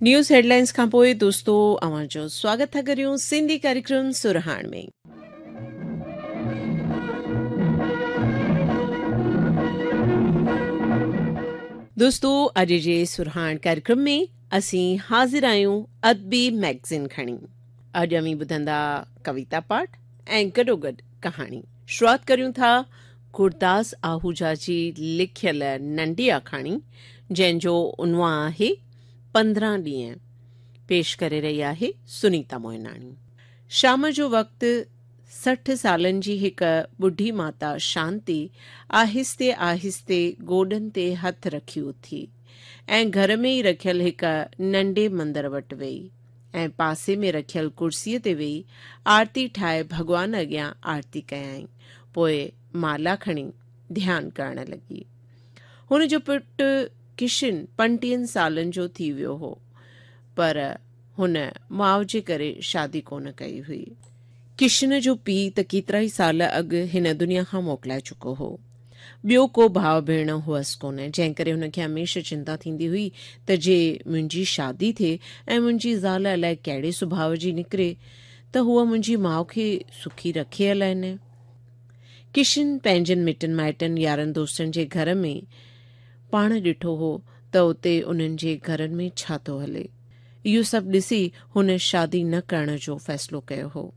News headlines کان پوء دوستو اوهان جو سواگت ٿا ڪريون سنڌي ڪاريڪرم سرهاڻ ۾. دوستو اڄ جي سرهاڻ ڪاريڪرم ۾ اسين حاضر آهيون ادبي ميگزين کڻي. اڄ اوهين ٻڌندا ڪويتا پاٺ ۽ گڏوگڏ ڪهاڻي. شروعات ڪريون ٿا گرداس آهوجا جي لکيل ننڍي آکاڻي جنهن جو عنوان آهي 15 ڏينهن. پيش ڪري رهي آهي سنيتا موهناڻي. شام جو وقت 60 سالن جي هڪ ٻڍي ماتا شانتي آهستي آهستي گوڏن تي هٿ رکي اٿي ۽ گهر ۾ ئي رکيل هڪ ننڍي مندر وٽ ويئي ۽ پاسي ۾ رکيل ڪرسيء تي ويهي آرتي ٺاهي ڀڳوان اڳيان آرتي ڪيائين. پوء مالا کڻي ڌيان ڪرڻ لڳي. هن جو پٽ ڪشن پنٽيهن سالن جو ٿي ويو هو، پر هن ماء جي ڪري شادي ڪونه ڪئي هئي. ڪشن جو پيء ته ڪيترائي سال اڳ هن دنيا کان موڪلائي چڪو هو. ٻيو ڪو ڀاء ڀيڻ هئس ڪونه، جنهن ڪري هن کي هميشه چنتا ٿيندي هئي ته جي منهنجي شادي ٿئي ۽ منهنجي زال الائي ڪهڙي سڀاء جي نڪري ته هوء منهنجي ماء کي سکي رکي الائي نه. ڪشن پنهنجن مٽن مائٽن، يارن دوستن جي گهر ۾ پاڻ ڏٺو هو ته اتي انهن جي گهرن ۾ ڇا ٿو هلي. اهو سڀ ڏسي هن شادي نه ڪرڻ جو فيصلو ڪيو هو.